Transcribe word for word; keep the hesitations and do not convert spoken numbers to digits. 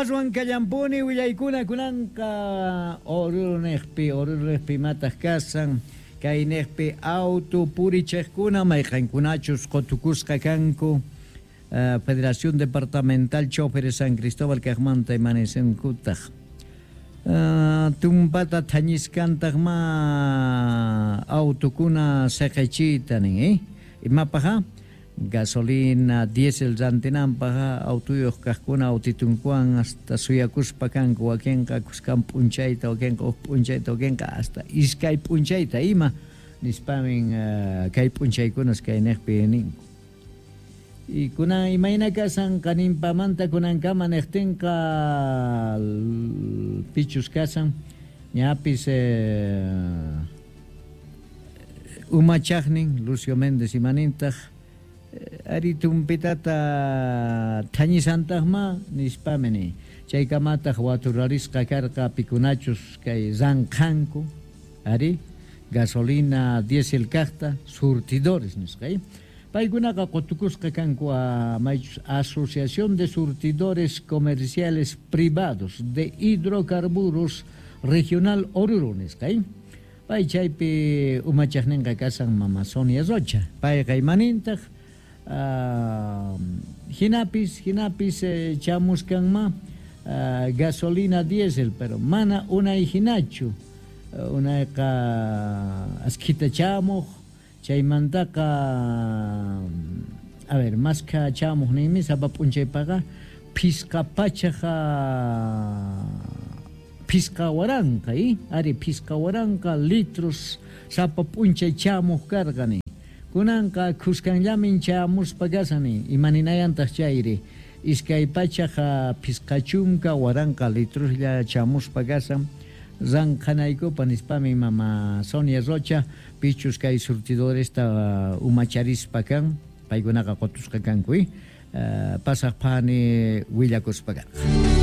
Aswan kallampuni willaykuna kunanqa Oruro niqpi, Oruro niqpi imataq kasan, kay niqpi auto purichiqkuna mayqankunachus qutukusqa kanku uh, Federación Departamental Choferes San Cristóbal kaqmanta imanisinkutaq uh, tumpata thañiskantaq ma autokuna siqichiyta nin, eh? Imapaqa gasolina, diésel rantinanpaq autuyuq kaqkuna autitunkuwan hasta suyakuspa kanku, wakinqa kuskan p'unchayta, wakinqa huk p'unchayta, wakinqa hasta iskay p'unchayta ima nispamin uh, kay p'unchaykunas kay niqpi ninku. Y kunan imayna kasan qaninpamanta kunankama niqtinqa pichus kasan ñapis eh, umachaqnin Lucio Méndez imanintaq ari tumpitata thañisantaqma nispami ni chaykamataq waturarisqa karqa pikunachus kay ranqhanku ari gasolina diésel kaqta surtidores nisqa, paykunaqa qutukusqa kanku a maychus Asociación de Surtidores Comerciales Privados de Hidrocarburos Regional Oruro nisqa, pay chaypi umachaqninqa kasan mama Sonia Rocha, payqa imanintaq Uh, hinapis hinapis eh, chamuskanma uh, gasolina diésel, pero mana unay hinachu, uh, unayqa askhita chamuq chaymantaqa a ver maskha chamuq ninmi sapa p'unchaypaqa phisqa pachaqa phisqa waranqa eh? Ari phisqa waranqa litros sapa p'unchay chamuq karqa nin. Kunanqa kuskanllamin chamuspa kasani imaninayantaq chayri iskay pachaqa phisqa chunka waranqa litroslla chamuspa kasan ranqhanaykupa nispami mama Sonia Rocha pichus kay surtidoresta umacharispa kan paykunaqa qutusqa kanku, uh, pasaq phani willakuspa karqa.